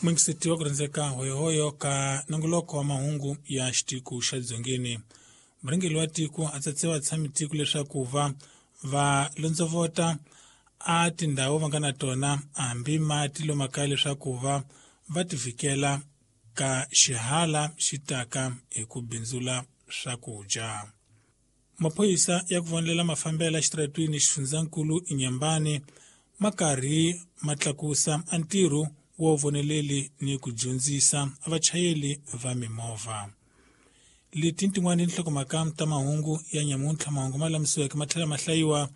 Muyingiseti wa ku rhandzeka hoyohoyo ka nongoloko wa mahungu ya xitiko xa dzongeni. Murhangeri wa tiko a tsatse vatshami tiko leswaku va va londzovota a tindhawu va nga na tona hambi mati lomakaya leswaku va va tivhikela ka xihala xi taka hi ku bindzula swakudya. Maphorisa ya ku vonelela mafambelo exitaratwini xifundzankulu Inhambane ma karhi ma tlakusa a ntirho wo voneleli ni ku dyondzisa vachayeli va mimovha. Leti tin'wana tinhlokomhaka ta mahungu ya nyamuntlha mahungu ma lamisiweke ma tlhela ma hlayiwa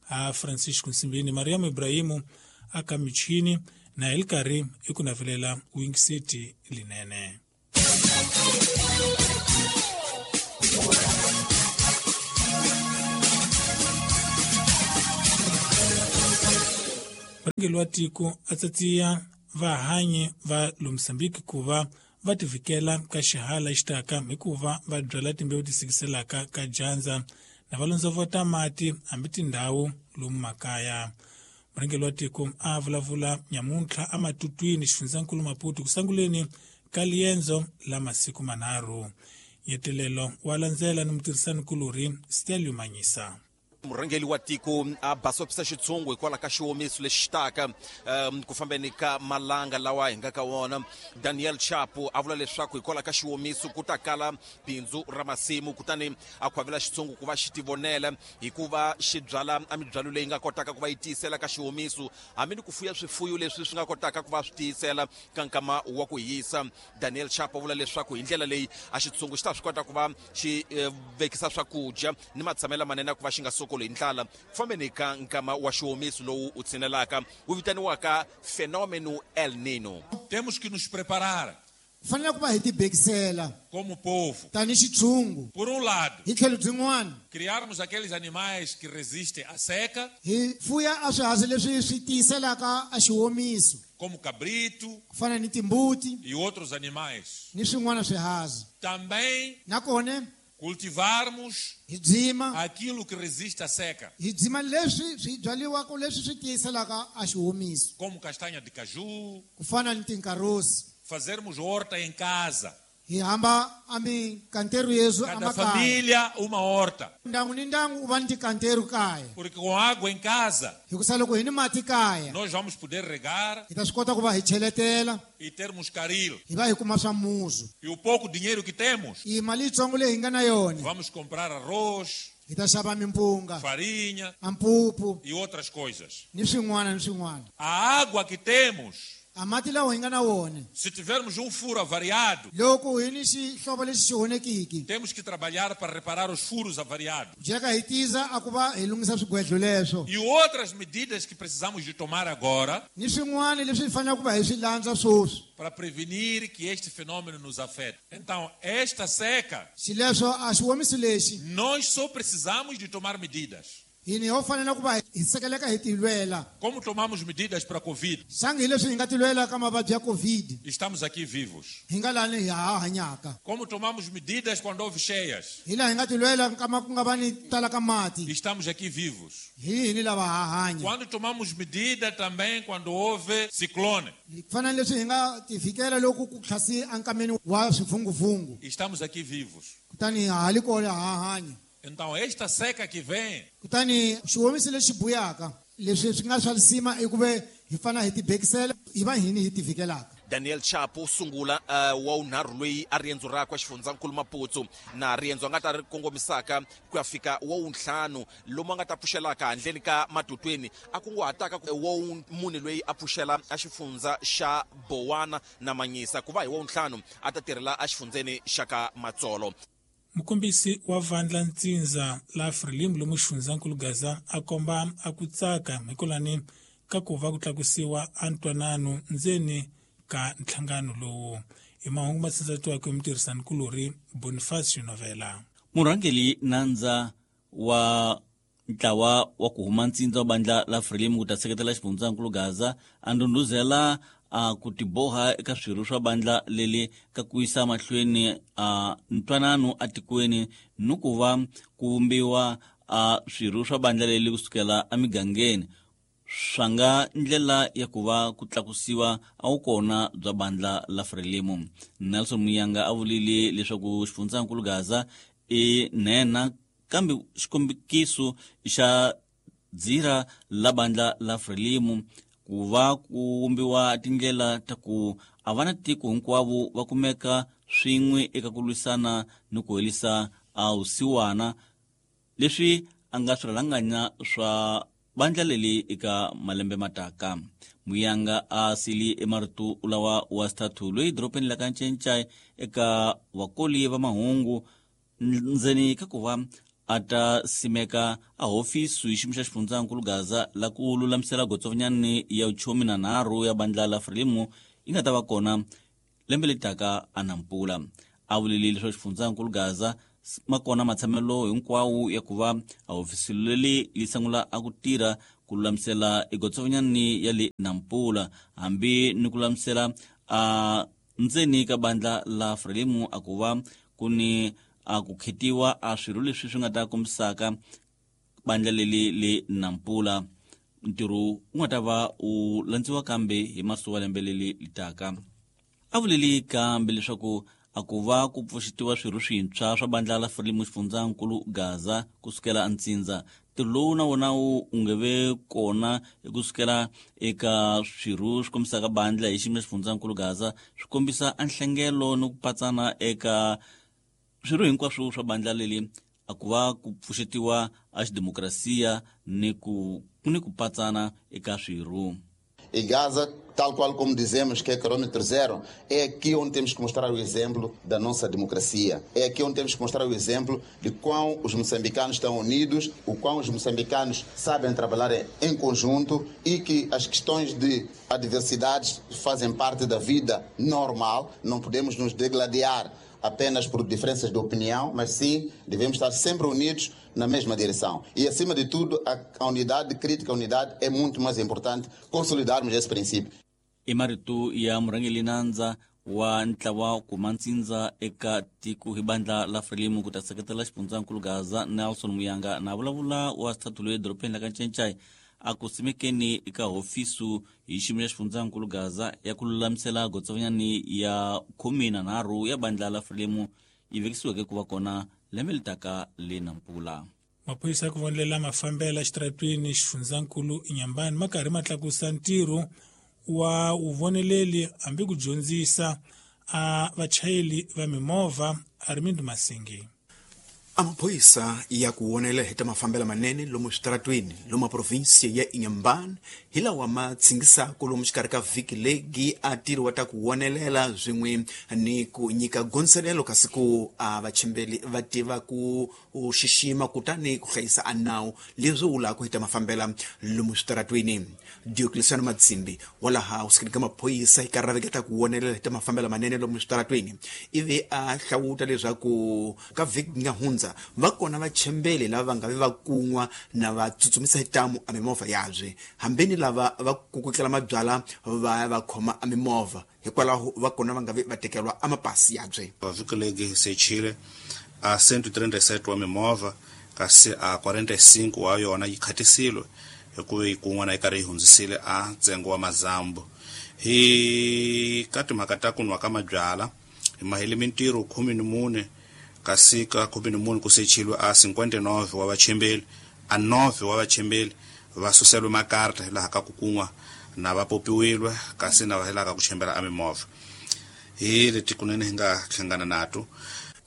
ha Francisco Nsimbini Mariam Ibrahimu aka michini na hi li karhi i ku navelela wingiseti linene. Murhangeri wa tiko a tsatsiya vahanyi va lo Mozambique ku va va tivhikela ka xihala xitaka hikuva va byala timbewu ti sikiselaka ka dyandza na va londzovota mati hambi tindhawu lomu makaya. Murhangeri wa tiko a vulavula nyamuntlha ematutwini xifundzankulu Maputo ku sunguleni ka liendzo la masiku manharhu. Nyetelelo wa landzela ni mutirhisani-kulorhi Stelio Manyisa. Murhangeri wa tiko a basopisa xitshungu hikwalaho ka xiwomiso lexi taka ku fambeni ka malanga lawa hi nga ka wona. Daniel Chapo a vula leswaku hikwalaho ka xiwomiso ku ta kala bindzu ra masimu, kutani a khwavela xitshungu ku va xi tivonela hikuva xi byala a mibyalo leyi nga kotaka ku va yi tiyisela ka xiwomiso, hambi ni ku fuya swifuyo leswi swi nga kotaka ku va swi tiyisela ka nkama wa ku hisa. Daniel Chapo a vula leswaku hi ndlela leyi a xitshungu xi ta swi kota ku va xi vekisa swakudya ni matshamelo lamanene ya ku va xi nga sokoli hi ndlala ku fambeni ka nkama wa xiwomiso lowu wu tshinelaka wu vitaniwaka fenômeno El Nino. Temos que nos preparar. Ku fanele ku va hi tibekisela. Como povo. Tani xitshungu. Por um lado. Hi tlhelo byin'wana. Criarmos aqueles animais que resistem à seca. Hi fuya a swiharhi leswi swi tiyiselaka a xiwomiso. Como cabrito. Ku fana ni timbuti. E outros animais. Ni swin'wana swiharhi. Também. Nakona. Cultivarmos. Hi byima. Aquilo que resiste à seca. Hi byima leswi swi byariwaka leswi swi tiyiselaka a xiwomiso. Como castanha de caju. Ku fana ni tinkarosi. Fazermos horta em casa. Hi hamba a mikanteru yesu Cada emakaya. família uma horta. Ndyangu ni ndyangu u va ni tikanteru kaya. Porque com água em casa, Hikusa loko hi ni mati kaya, nós vamos poder regar hi ta swi kota ku va hi cheletela, e termos caril. hi va hi kuma swa muzu. E o pouco dinheiro que temos, I mali yitsongo leyi hi nga na yona, vamos comprar arroz, hi ta xava mimpunga, farinha a mpupu e outras coisas. ni swin'wana ni swin'wana. A água que temos, A mati lawa hi nga na wona, se tivermos um furo avariado, loko hi ni xihlovo lexi xi onhekiki, temos que trabalhar para reparar os furos avariados. jeka hi tiza a ku va hi lunghisa swigwedlo leswo. E outras medidas que precisamos de tomar agora Ni swin'wana leswi hi faneleke ku va hi swi landza sweswi. para prevenir que este fenômeno nos afete. Então, esta seca, Xileswo a xiwomiso lexi, nós só precisamos de tomar medidas. Hina ho fanele ku va hi sekeleka hi tilwela. Como tomamos medidas para a Covid? Xangi hi leswi hi nga tilwela ka mavabyi ya Covid. Estamos aqui vivos. Hi nga lani hi ha hanyaka. Como tomamos medidas quando houve cheias? Hi laha hi nga tilwela nkama ku nga va ni tala ka mati. Estamos aqui vivos. Hi hini lava ha hanya. Quando tomamos medida também quando houve ciclone? Hi fana ni leswi hi nga tivikela loko ku tlhasi enkameni wa swivunguvungu. Estamos aqui vivos. Kutani ha li kona ha hanya. Então esta seca que vem, Kutani xiwomiso lexi buyaka leswi swi nga swa lisima i ku ve hi fanele hi tibekisela hi va hini hi tivikelaka. Daniel Chapo sungula wa unharhu loyi a riendzo rakwe xifundzankulu Maputo na riendzo a nga ta ri kongomisaka ku ya fika wa wuntlhanu lomu a nga ta pfuxelaka handleni ka Matutweni a kunguhataka wa mune loyi a pfuxela a xifundza xa Bowana na Manyisa ku va hi wa wuntlhanu a ta tirhela a xifundzeni xa ka Matsolo. Mukombisi wa vandla Ntsindza la Frelimo lomu xifundzankulu Gaza a komba a ku tsaka hikwalani ka ku va ku tlakusiwa a ntwanano ndzeni ka nhlangano lowu. Hi mahungu ma tsandzatiwaka hi mutirhisanikulorhi Bonifacio Novela. Murhangeri nandza wa ntlawa wa ku huma ntsindza wa bandla la Frelimo ku ta seketela xifundzankulu Gaza a ndhundhuzela a ku tiboha eka swirho swa bandla leli ka ku yisa mahlweni a ntwanano atikweni ni ku va ku vumbiwa a swirho swa bandla leli kusukela emigangeni. Swanga ndlela ya ku va ku tlakusiwa a wu kona bya bandla la Frelimo. Nelson Muyanga a vulile leswaku xifundzankulu Gaza i nhenha kambe xikombikiso xa dzira la bandla la Frelimo ku va ku vumbiwa tindlela ta ku a va na tiko hinkwavo va kumeka swin'we eka ku lwisana ni ku herisa a vusiwana leswi a nga swirhalanganya swa bandla leli eka malembe mataka. Muyanga a sili emarito lawa wa xithathu loyi dorobeni la ka Ncencai eka vakoli va mahungu ndzeni ka ku va a ta simeka a hofisi hi xiyimo xa xifundzankulu Gaza la ku lulamisela gotsovanyani ya vuchomi na nharhu ya bandla la Frelimo yi nga ta va kona lembe leri taka a Nampula. A vulile leswaku xifundzankulu Gaza makona matshamelo hinkwawo ya ku va a hofisi leri li sungula a ku tirha ku lulamisela egotsovanyani ya le Nampula hambi ni ku lulamisela a ndzeni ka bandla la Frelimo a ku va ku ni a ku khetiwa a swirho leswi swi nga ta kombisaka bandla leli le Nampula. Ntirho wu nga ta va wu landziwa kambe hi masiku wa lembe leli li taka. A vuleli kambe leswaku a ku va ku pfuxetiwa swirho swintshwa swa bandla la Frelimo xifundzankulu Gaza kusukela entsindza. Ntirho lowu na wona wu nge ve kona kusukela eka swirho swi kombisaka bandla hi xiyimo xa xifundzankulu Gaza swi kombisa nhlengelo ni ku patsana eka swirho hinkwaswo swa bandla leli a ku va ku pfuxetiwa a xidemokrasiya ni ku patsana eka swirho. E Gaza, tal qual como dizemos que é quilômetro zero, é aqui onde temos que mostrar o exemplo da nossa democracia. É aqui onde temos que mostrar o exemplo de quão os moçambicanos estão unidos, o quão os moçambicanos sabem trabalhar em conjunto e que as questões de adversidades fazem parte da vida normal. Não podemos nos degladiar apenas por diferenças de opinião, mas sim devemos estar sempre unidos na mesma direção. E, acima de tudo, a unidade crítica, a unidade é muito mais importante consolidarmos esse princípio. I marito ya murhangeri nandza wa ntlawa kuma ntsindza eka tiko hi bandla la Frelimo ku ta seketela xifundzankulu Gaza Nelson Muyanga na vulavula wa xithathu loyi edorobeni la ka Ncencai a ku simekeni eka hofisu hi xiyimo xa xifundzankulu Gaza ya ku lulamisela gotsovanyani ya 13 ya bandla la Frelimo yi vekisiweke ku va kona lembe leri taka le Nampula. Maphorisa ya ku vonelela mafambela xitaratwini xifundzankulu Inhambane ma karhi ma tlakusa ntirho wa vuvoneleli hambi ku dyondzisa a vachayeri va mimovha. Armindo Masingi. Amaphoyisa ya ku wonela hi ta mafambelo manene lomu switaratwini lomu provinsia ya Inhambane hi lawa ma tshingisaka lomu xikarhi ka vhiki legi a tirhiwa ta ku wonelela swin'we ni ku nyika gondzelelo kasi ku a vachimbeli va tiva ku xixima kutani ku hlayisa a nawu leswi vulaka hi ta mafambela lomu switaratwini. Diocleciano Matsimbi wa laha kusikeni ka maphorisa hi karhi raveketa ku wonelela hi ta mafambelo manene lomu switaratwini ivi a hlawuta leswaku ka vhiki nga hundza va kona vachembeli lava va nga vi va kun'wa na va tsutsumisa hi tamu a mimovha yabye hambeni lava va kukutlela mabyala va va khoma a mimovha hikwalaho va kona va nga vi va tekeriwa a mapasi yabye. Vhiki legi sechile a 137 wa mimovha kasi a 45 wa yona yi khatisile hikuva yi kun'wana yi karhi yi hundzisile a ntsengo wa mazambu. Hi ka timhaka ta ku nwa ka mabyala hi mahele mintirho 14 kasi ka 14 ku sechilwe a 59 wa vachembeli a 9 wa vachembeli va suselwe makarta hi laha ka ku kun'wa na va popiwilwe kasi na va hi laha ka ku chembela a mimovha. Hi leti kunene hi nga hlangana nato.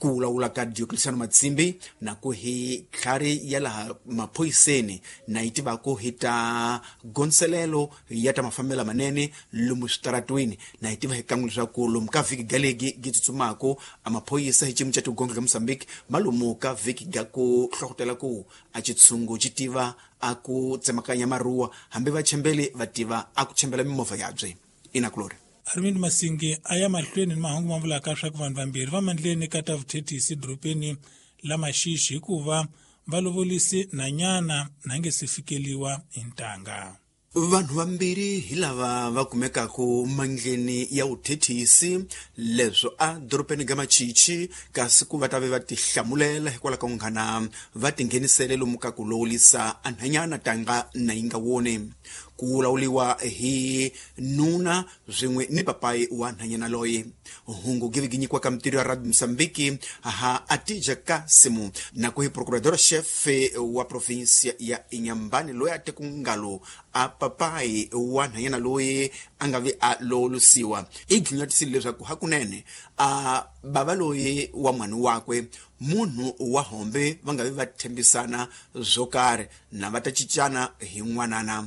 Ku vulavula ka Diocleciano Matsimbi na ku hi tlhari ya laha maphoyiseni na yi tivaka hi ta gondzelelo ya ta mafambelo manene lomu switaratwini na yi tiva hi kan'we leswaku lomu ka vhiki galegi gi tsutsumaka a maphoyisa hi xiyimo xa tigongo ka Mozambique ma lomu ka vhiki ga ku hlohlotela ku a xitshungu xi tiva a ku tsemakanya maruwa hambi vachembeli va tiva a ku chembela mimovha yabye. Inakulori. Arvind Masingi a ya mahlweni ni mahungu ma vulaka swa ku vanhu vambirhi va mandleni ka ta vuthethisi dorobeni la Maxixi hikuva va lovolisi nanyana na nge se fikeliwa hi ntanga. Vanhu vambirhi hi lava va kumekaka mandleni ya vuthethisi leswo a dorobeni ga Machichi kasi ku va ta ve va tihlamulela hikwalaho ka munghana va tinghenisele lomu ka ku lowulisa anhanyana tanga na yi nga woni. Ku lawuliwa hi nuna swin'we ni papayi wa nhanyana loyi. Hungu giviginyikiwa ka mitirho ya Radio Mozambique ha Atija Kasimu na ku hi procurador chefe wa provinsia ya Inhambane loyi a te ku ngalo a papayi wa nhanyana loyi a nga vi a lolusiwa i dlunyatisile leswaku hakunene a bava loyi wa n'wana wakwe munhu wa hombe va nga vi va tshembisana swo karhi na va ta cincana hi n'wanana.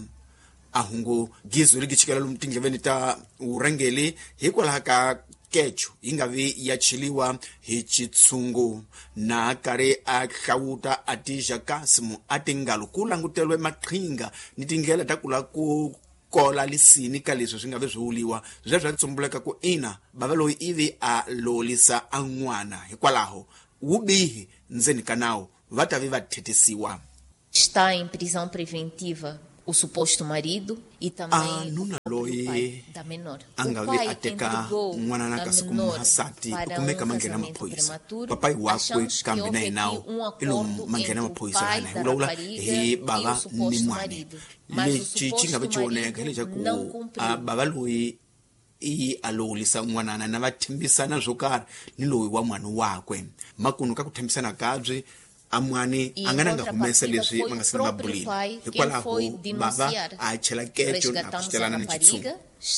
A hungu gizo ri gichikela lomu tindleveni ta vurhangeri hikwalaho ka kecho yi nga vi ya cheliwa hi chitshungu. Na karhi a hlawuta Atija Kasimu a tingalo ku languteriwe maqhinga ni tindlela ta ku lava ku kola lisini ka leswi swi nga vi swi wuliwa sweswo swa tsumbuleka ku ina bava loyi ivi a lolisa a n'wana hikwalaho wubihi ndzeni ka nawu va ta vi va thetisiwa. Está em prisão preventiva o suposto marido e também a nuna loyi da menor. A nga vi a teka n'wana na kasi ku muhasati u kumeka manghena maphorisa papayi wakwe kambe na yena i lomu manghena maphorisa yana hi vulavula hi bava ni n'wana. Lexi xi nga vi xi voneka hi lexaku a bava loyi i a lowulisa n'wanana na va tshembisana swo karhi ni loyi wa n'wana wakwe makunu ka ku tshembisana kabyi amwani a nga na nga humesa leswi va nga sina mabulini hikwalaho bava a chela kecho na ku xitelana ni xitshungu.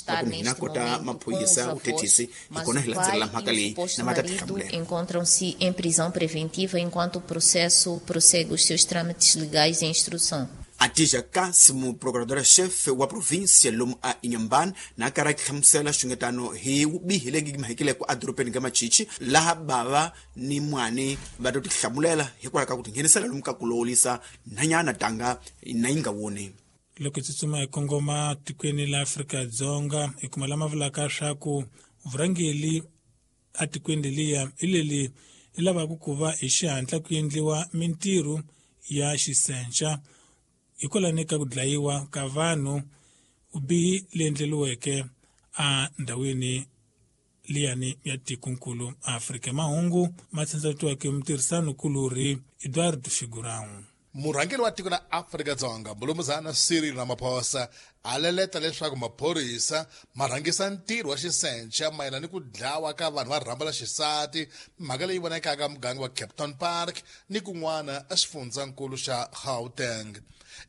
Loko hina kota maphorisa vuthethisi hi kona hi landzelela mhaka leyi na va ta tihlamulela. Encontram-se em prisão preventiva enquanto o processo prossegue os seus trâmites legais e instrução. Atija Kasimu, procuradora-chefe wa província lomu a Inhambane, na karhi a hlamusela xungetano hi vubihi lebyi mahekileke edorobeni ka Machichi laha bava ni n'wani va to tihlamulela hikwalaho ka ku tinghenisela lomu ka ku lowulisa nhanyana tanga na yi nga woni. Loko hi tsutsuma hi kongoma tikweni la Afrika-Dzonga hi kuma lama vulaka swa ku vurhangeri etikweni leliya hi leli ri lavaka ku va hi xihatla ku endliwa mintirho ya xisenca hikwalaho ka ku dlayiwa ka vanhu vubihi leyi endleriweke endhawini liyani ya tikonkulu Afrika. Mahungu ma tsandzatiweke mutirhisani-kulorhi Eduardo Figurão. Murhangeri wa tiko la Afrika-Dzonga Mulumuzana Cyril Ramaphosa a leleta leswaku maphorisa ma rhangisa ntirho wa xisenca mayelana ni ku dlawa ka vanhu va rhamba la xisati, mhaka leyi vonakaka muganga wa Kempton Park ni kun'wana exifundzankulu xa Gauteng.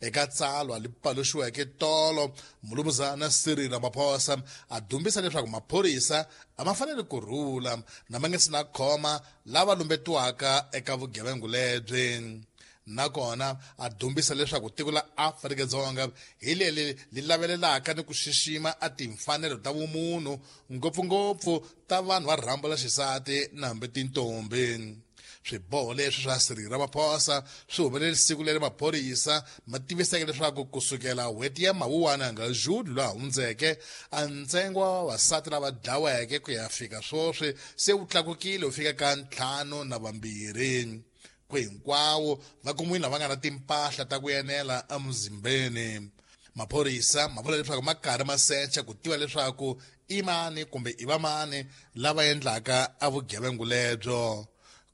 Eka tsalwa li paluxiweke tolo, Mulumuzana Cyril Ramaphosa a dumbisa leswaku maphorisa a ma fanele ku rhula na ma nga si na khoma lava lumbetiwaka eka vugevenga lebyi. Nakona a dumbisa leswaku tiko la Afrika-Dzonga hi leri li lavelelaka ni ku xixima a timfanelo ta vumunhu ngopfungopfu ta vanhu va rhambo la xisati na hambi tintombi. Swiboho leswi swa Cyril Ramaphosa swi humelele siku leri maphorisa ma tiviseke leswaku kusukela n'hweti ya Mawuwani nga June lowu hundzeke a ntsengo wa vavasati lava dlaweke ku ya fika sweswi se wu tlakukile wu fika ka 52. Ku hinkwawo va kumiwile lava nga na timpahla ta ku enela emuzimbeni. Maphorisa ma vula leswaku ma karhi ma secha ku tiva leswaku i mani kumbe i vamani lava endlaka a vugevenga lebyo.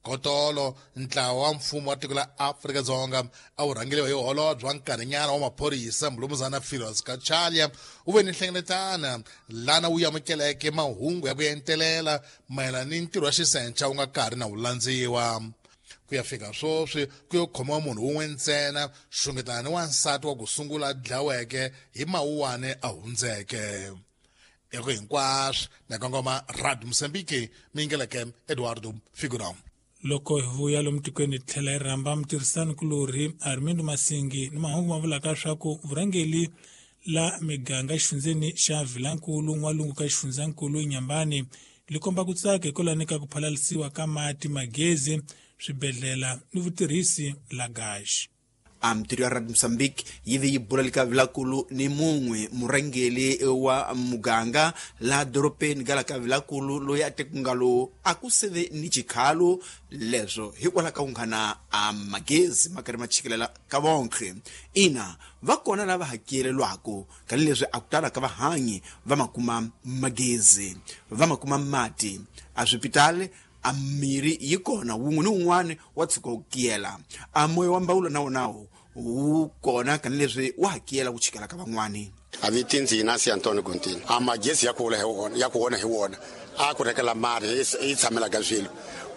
Kotolo ntlawa wa mfumo wa tiko la Afrika-Dzonga a wu rhangeriwa hi holobye wa nkarhinyana wa maphorisa Mulumuzana Firoz Cachalia wu ve ni nhlengeletano lana wu amukeleke mahungu ya ku entelela mayelana ni ntirho wa xisenca wu nga karhi na wu landziwa. Ku ya fika sweswi ku yo khomiwa munhu wun'we ntsena xungetana ni wansati wa ku sungula a dlaweke hi Mawuwani a hundzeke. Eko hinkwaswo na kongoma Radio Mozambique mingeleke Eduardo Figurão. Loko hi vuya lomu tikweni hi tlhela hi rhamba mutirhisani-kulorhi Armindo Masingi ni mahungu ma vulaka swa ku vurhangeri la miganga exifundzeni xa Vilankulu n'walungu ka xifundzankulu Inhambane li komba ku tsaka hikwalaho ka ku phalalisiwa ka mati, magezi, swibedhlele ni vutirhisi la gaxi. A mitirho ya Radio Mozambique yi ve yi bula ka Vilakulu ni mun'we murhangeri wa muganga laha dorobeni ka la ka Vilakulu loyi a tekungalo a ku seve ni xikhalo leswo hikwalaho ka ku nghana a magezi ma karhi ma chikelela ka vonkhe. Ina va kona lava hakelelwaka kani leswi a ku tala ka vahanyi va ma kuma magezi va ma kuma mati a swipitali a mirhi yi kona wun'we ni wun'wani wa tshuka wu kiyela a moya wa mbawulo na wonawo wu kona kani leswi wa hakela ku chikela ka van'wani. A viti Inácio Antônio Gontino. A magezi ya ku hi wona ya ku wona hi wona a ku rekela mari yi tshamela ka swilo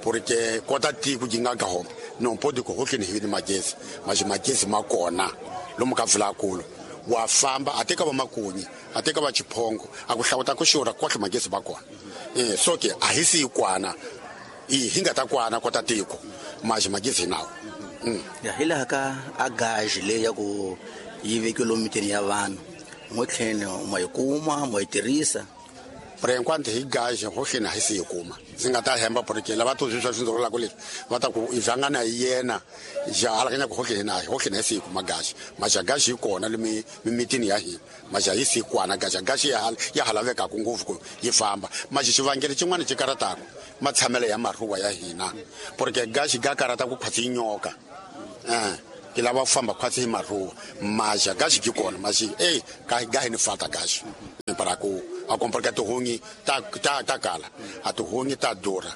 porque kota tiko yi nga ka homa não pode ku hohleni hi ni magezi mas magezi ma kona lomu ka vulakulu wa famba a teka va makunyi a teka va chiphongo a ku hlawuta ku xurha kohle magezi va kona so ke a hi si kwana i hi nga ta kwana kota tiko mas magezi nawo. Ya hi laha ka a gaji leyi ya ku yi vekiwe lomu mitini ya vanhu n'witlheni ma yi kuma ma yi tirhisa. Por enquanto hi gaji hohleni a hi si yi kuma ndzi nga ta hemba porque lava to swi swa swindzololako leswi va ta ku i vhangana hi yena ja alakanya ku hohleni na hohleni hi si yi kuma gaji maja gaji yi kona le mimitini ya hina maja yi si kwana gaji gaji ya ha lavekaka ngopfu ku yi famba maji xivangelo xin'wana xi karataka matshamelo ya maruwa ya hina porque gaji ga karata ku khwatsi yi nyoka ke lava ku famba khwatsi hi maruwa maja gaji ki kona maji ga hi ni fata gaji para ku a comprar que tihunyi ta ta ta kala a tihunyi ta durha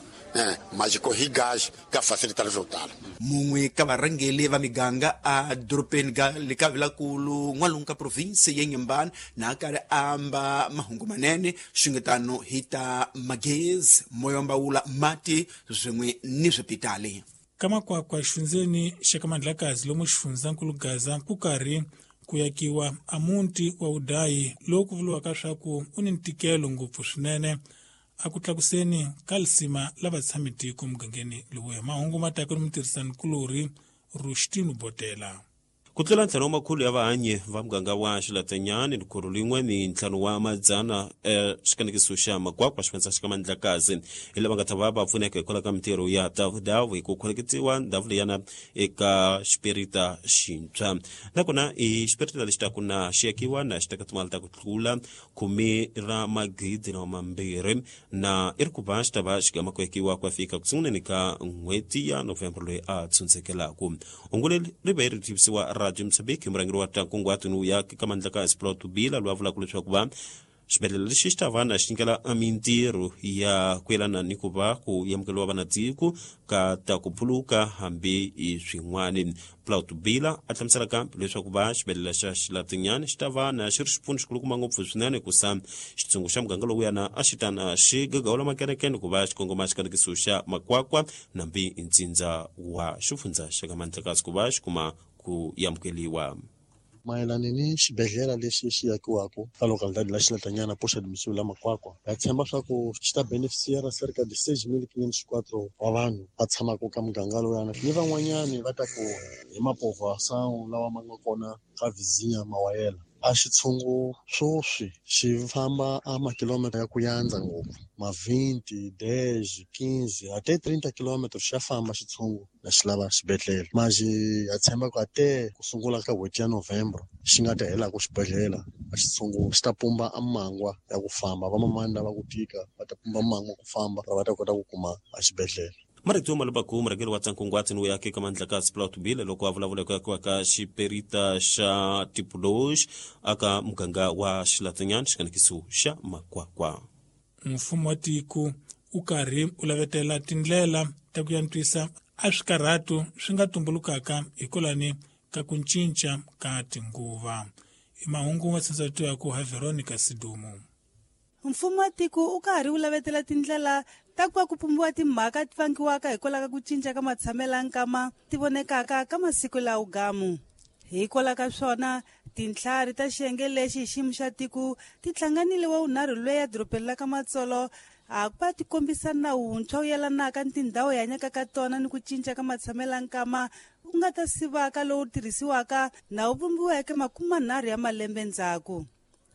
maji ko hi gaji ka facilita swo tala. Mun'we ka varhangeli va miganga a dorobeni ga le ka vilakulu n'walungu ka provinsi ya Inhambane na karhi a amba mahungu manene xingetano hi ta magezi moya wa mbawula mati swin'we ni swipitali. Ka makwakwa xifundzeni xa ka Mandlakazi lomu xifundzankulu Gaza ku karhi ku yakiwa a muti wa Udayi lowu ku vuriwaka swa ku u ni ntikelo ngopfu swinene a ku tlakuseni ka lisima la vatshami tiko mugangeni lowuya. Mahungu ma taka ni mutirhisanikulorhi Rushtino Botela. Ku tlula ntlhanu wa makhulu ya vahanyi va muganga wa Xilatanyani likhulu lin'we ni ntlhanu wa madzana xikanekiso xa Makwakwa xifundza xa ka Mandlakazi hi lava nga ta va va pfuneka hikwalaho ka mintirho ya davudavu hi ku khoneketiwa ndhawu leyana eka xiperita xintshwa nakona i xiperita lexi taku na xi yakiwa na xi teka timali ta ku tlula 10,200 na i ri ku va xi ta va xi gama ku yakiwa ku ya fika ku sunguleni ka n'hweti ya November loyi a tshundzekelaku. Hungu leri ri ve ri tivisiwa Radio Mozambique hi murhangeri wa ta nkunguhato ni ya ka Mandlakazi Plot Bila loyi a vulaka leswaku va xibedhlele lexi xi ta va na xi nyikela mintirho ya ku yelana ni ku va ku amukeriwa vanatiko ka ta ku phuluka hambi i swin'wani. Plot Bila a hlamusela kambe leswaku va xibedhlele xa Xilatinyani xi ta va na xi ri xipfuno xikulukumba ngopfu swinene ku sa xitshungu xa muganga lowuyana a xi ta na xi gagawula makerekene ku va xi kongoma xikanekiso xa Makwakwa nambi ntsindza wa xifundza xa ka Mandlakazi ku va xi kuma ku amukeriwa. Mayelana ni xibedhlele lexi xi yakiwaka ka localidade la Xilatanyana poxa domicílio la Makwakwa ha tshemba swa ku xi ta beneficiara cerca de 6.504 wa vanhu va tshamaka ka muganga lowuyana ni van'wanyani va ta ku hi mapovoação lawa ma nga kona ka vizinha mawayela. A xitshungu swoswi xi famba a makilomita ya ku yandza ngopfu ma 20, 10, 15 ate 30 km xa famba xitshungu na xi lava xibedhlele maji ha tshemba ku ate ku sungula ka n'hweti ya November xi nga ta helaka xibedhlele a xitshungu xi ta pumba a mangwa ya ku famba vamamani lava ku tika va ta pumba mangwa ku famba va ta kota ku kuma a xibedhlele. Marito Malubaku murhangeri wa ta nkunguhato ni ya ka Mandlakazi Plot Bila loko a vulavula ku yakiwa ka xiperita xa Tipoloji aka muganga wa Xilatanyani xikanekiso xa Makwakwa. Mfumo wa tiko u karhi u lavetela tindlela ta ku antswisa a swikarhatu swi nga tumbulukaka hikwalani ka ku cinca ka tinguva. I mahungu ma tshundzatiwaka ha Veronica Sidumo. Mfumo wa tiko u karhi u lavetela tindlela ta ku va ku pumbiwa timhaka ti vangiwaka hikwalaho ka ku cinca ka matshamelo nkama ti vonekaka ka masiku lawo gamu. Hikwalaho ka swona tintlhari ta xiyenge lexi hi xiyimo xa tiko ti hlanganile wa vunharhu loyi ya dorobeni la ka Matsolo a ku va ti kombisa nawu wuntshwa wu yelanaka ni tindhawu hi hanyaka ka tona ni ku cinca ka matshamelo nkama u nga ta sivaka lowu tirhisiwaka na wu vumbiweke 30 ya malembe ndzhaku.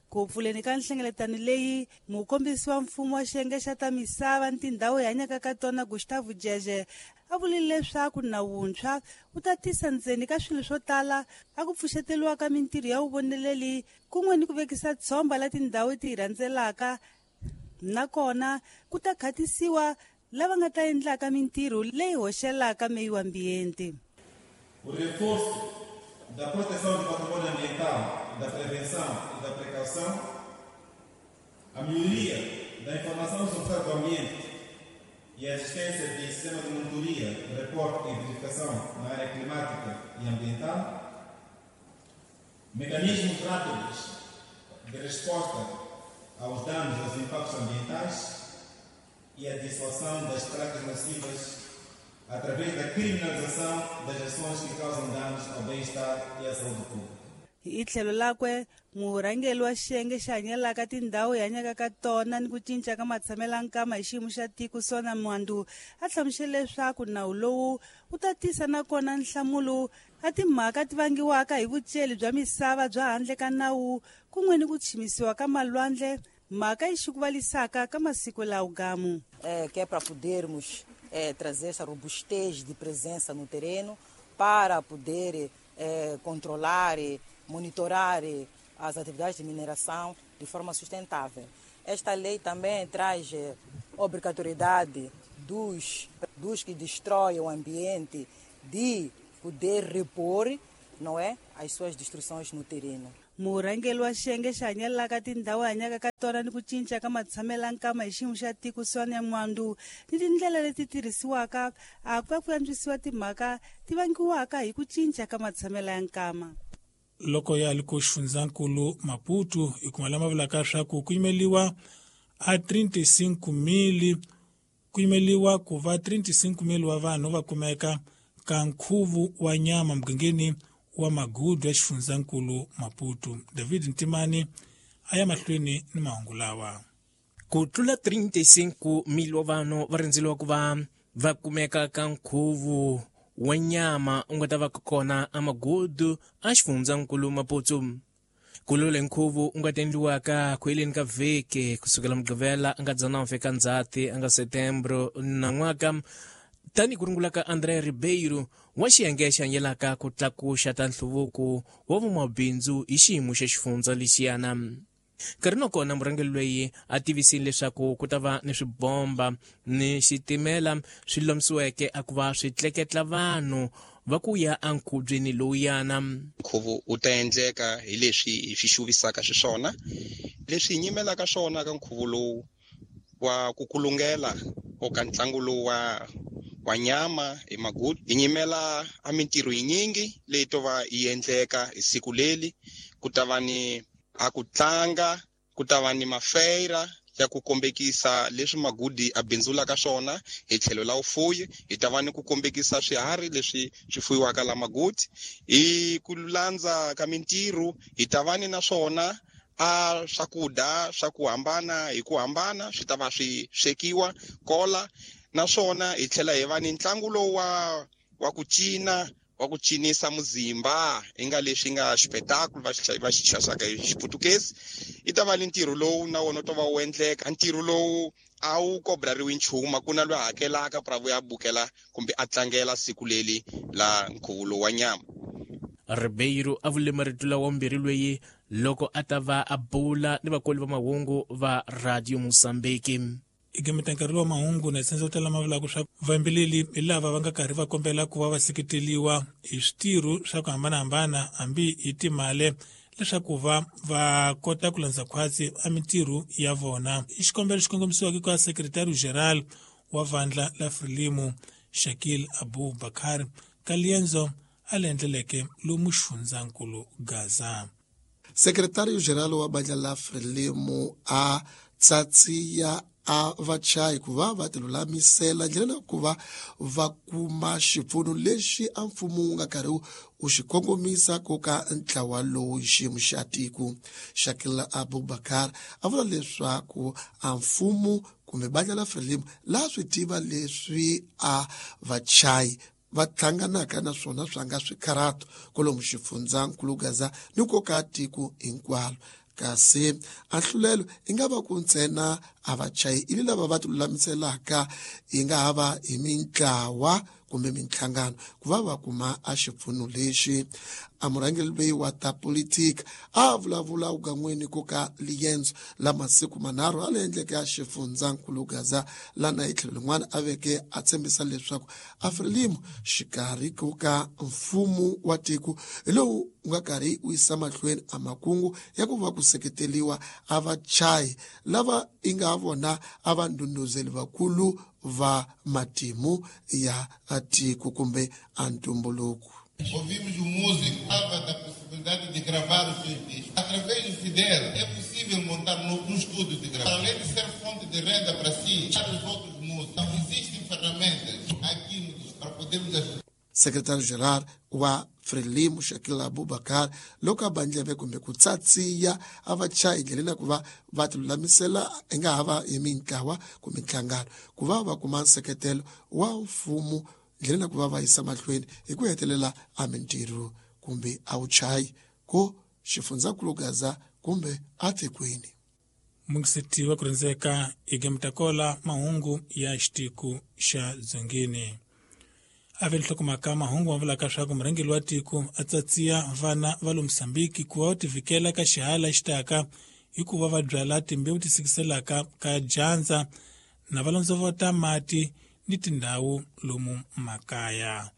Ku pfuleni ka nhlengeletano leyi mukombisi wa mfumo wa xiyenge xa ta misava ni tindhawu hi hanyaka ka tona Gustavo Jeje a vulile leswaku nawu wuntshwa wu ta tisa ndzeni ka swilo swo tala a ku pfuxeteliwa ka mintirho ya vuvoneleli kun'we ni ku vekisa tshomba la tindhawu ti hi rhandzelaka nakona ku ta khatisiwa lava nga ta endlaka mintirho leyi hoxelaka meyi wa ambiente. O reforço da proteção do patrimônio ambiental, da prevenção e da precaução, a melhoria da informação sobre o estado do ambiente e a existência de sistema de monitoria, reporte e verificação na área climática e ambiental, mecanismos rápidos de resposta aos danos aos impactos ambientais e a dissuasão das práticas nocivas através da criminalização das ações que causam danos ao bem-estar e à saúde pública. Hi tlhelo lakwe murhangeri wa xiyenge xi hanyelaka tindhawu hi hanyaka ka tona ni ku cinca ka matshamelo nkama hi xiyimo xa tiko Sona Mwandu a hlamusele leswaku nawu lowu wu ta tisa nakona nhlamulo a timhaka ti vangiwaka hi vuceli bya misava bya handle ka nawu kun'we ni ku chimisiwa ka malwandle mhaka yi xikuvalisaka ka masiku lawo gamu. Que é para podermos trazer essa robustez de presença no terreno para poder controlar e monitorar as atividades de mineração de forma sustentável. Esta lei também traz obrigatoriedade dos que destroem o ambiente de poder repor, não é, as suas destruições no terreno. Murhangeri wa xiyenge xi hanyelaka tindhawu hi hanyaka ka tona ni ku cinca ka matshamelo nkama hi xiyimo xa tiko Sonia Mwandu ni tindlela leti tirhisiwaka a ku va ku antswisiwa timhaka ti vangiwaka hi ku cinca ka matshamelo ya nkama. Loko ya li ku xifundzankulu Maputo hi kuma lama vulaka swa ku ku yimeliwa a 35,000 ku yimeliwa ku va 35,000 wa vanhu va kumeka ka nkhuvu wa nyama mugangeni wa Magudu ya xifundzankulu Maputo. David Ntimani a ya mahlweni ni mahungu lawa. Ku tlula 35,000 wa vanhu va rindzeliwa ku va va kumeka ka nkhuvu wa nyama u nga ta va kona a Magudu a xifundzankulu Maputo. Ku lule nkhuvu u nga ta endliwaka ku heleni ka vhiki kusukela Mugqivela a nga 19 ka Ndzhati a nga Setembro nan'waka, tani ku rungula ka André Ribeiro wa xiyenge xi hanyelaka ku tlakuxa ta nhluvuko wa vumabindzu hi xiyimo xa xifundza lexiyana. Nkarhi na kona murhangeri loyi a tivisile leswaku ku ta va ni swibomba ni xitimela swi lomisiweke a ku va swi tleketla vanhu va ku ya enkhubyeni lowuyana. Nkhuvo wu ta endleka hi leswi hi swi xuvisaka xiswona, leswi hi nyimelaka swona ka nkhuvo lowu wa ku kulungela o ka ntlangu lowu wa nyama hi Magudu. Hi nyimela a mintirho yinyingi leyi to va yi endleka hi siku leli. Ku ta va ni a ku tlanga, ku ta va ni mafeira ya ku kombekisa leswi Magudi a bindzulaka swona hi tlhelo la vufuyi. Hi ta va ni ku kombekisa swiharhi leswi swi fuyiwaka la Magudi. Hi ku landza ka mintirho hi ta va ni naswona a swakudya swa ku hambana hi ku hambana swi ta va swi swekiwa kola. Naswona hi tlhela hi va ni ntlangu lowu wa ku cina, wa ku cinisa muzimba i nga leswi nga xipetakulu va xi xaxaka hi Xiputukezi. I ta va ni ntirho lowu na wona wu ta va wu endleka. Ntirho lowu a wu kobrariwi nchumu, ku na loyi a hakelaka pra vuya bukela kumbe a tlangela siku leli la nkhuvo lowu wa nyama. Ribeiro a vule marito lawa mbirhi loyi loko a ta va a bula ni vakoli va mahungu va Radio Mozambique. Igimeta nkarhi wa mahungu na tsendza tala mavula ku swa vayimbeleri hi lava va nga karhi va kombela ku va va seketeriwa hi switirho swa ku hambanahambana hambi hi timali leswaku va va kota ku landza khwatsi a mintirho ya vona. I xikombelo xi kongomisiwaka ka Secretary General wa vandla la Frelimo Shakil Abu Bakar ka liendzo a le endleleke lomu xifundzankulu Gaza. Secretario General wa bandla la Frelimo a tsatsiya a vachayi ku va va tilulamisela ndlela ya ku va va kuma xipfuno lexi a mfumo wu nga karhi wu xi kongomisa ku ka ntlawa lowu xiyimo xa tiko. Shakil Abubakar a vula leswaku a mfumo kumbe bandla la Frelimo la swi tiva leswi a vachayi va hlanganaka na swona swa nga swikharato kwalomu xifundzankulu Gaza ni ku ka tiko hinkwalo. Kasi a nhlulelo i nga va ku ntsena a vachayi ili lava va tilulamiselaka yi nga ha va hi mintlawa kumbe minhlangano ku va va kuma a xipfuno lexi. A murhangeri loyi wa ta politika a vulavula ugan'weni ku ka liendzo la masiku manharhu a le endleke a xifundzankulu Gaza lana hi tlhelo lin'wana a veke a tshembisa leswaku a Frelimo xikarhi ku ka mfumo wa tiko hi lowu wu nga karhi wu yisa mahlweni a makungu ya ku va ku seketeriwa a vachayi lava i nga vona a va ndhundhuzeli vakulu va matimu ya tiko kumbe a ntumbuluko. Ouvimos o músico, falava da possibilidade de gravar os seus discos. Através do dela, é possível montar num estúdio de gravação. Além de ser fonte de renda para si, para os outros músicos. Então, existem ferramentas aqui no, para podermos ajudar. Secretário-geral wa Frelimo Shakila Abubakar loko a bandleve kumbe ku tsatsiya a va chayi ndleleni ku va va tilulamisela i nga ha va hi mintlawa kumbe nhlangano ku va va kuma nseketelo wa mfumo ndleleni ku va va yisa mahlweni hi ku hetelela a mintirho kumbe a vuchayi ku xifundzankulu Gaza kumbe atikweni. Mungiseti wa ku rhendzeka igemutakola mahungu ya xitiku xa dzongeni. Ave nhlokomhaka mahungu ma vulaka swa ku murhangeri wa tiko a tsatsiya vana va le Mozambique ku va va tivikela ka xihala xi taka hi ku va va byala timbewu ti sikiselaka ka dyandza na va londzovota mati ni tindhawu lomu makaya.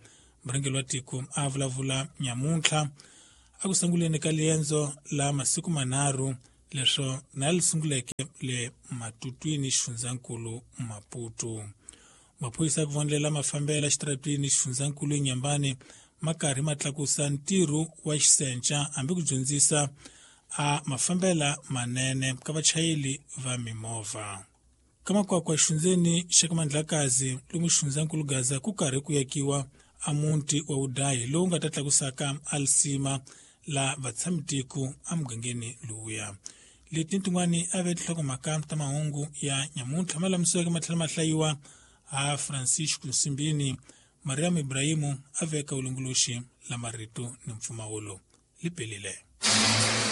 Murhangeri wa tiko a vulavula nyamuntlha a ku sunguleni ka liendzo la masiku manharhu leswo na li sunguleke le Matutwini xifundzankulu Maputo. Maphorisa ku vonela mafambela xitaratwini xifundzankulu Nyambani ma karhi ma tlakusa ntirho wa xisenca hambi ku dyondzisa a mafambela manene ka vachayeri va mimovha. Ka makwakwa xifundzeni xa ka Mandlakazi lomu xifundzankulu Gaza ku karhi ku yakiwa a muti wa vudayi lowu nga ta tlakusaka alisima la vatshamitiko emugangeni lowuya. Leti ni tin'wani a ve tinhlokomhaka ta mahungu ya nyamuntlha ma lamisiweke ma tlhela ma hlayiwa a Francisco Nsimbini. Mariam Ibrahimu a veka vulongoloxi la marito ni mpfumawulo li pelile.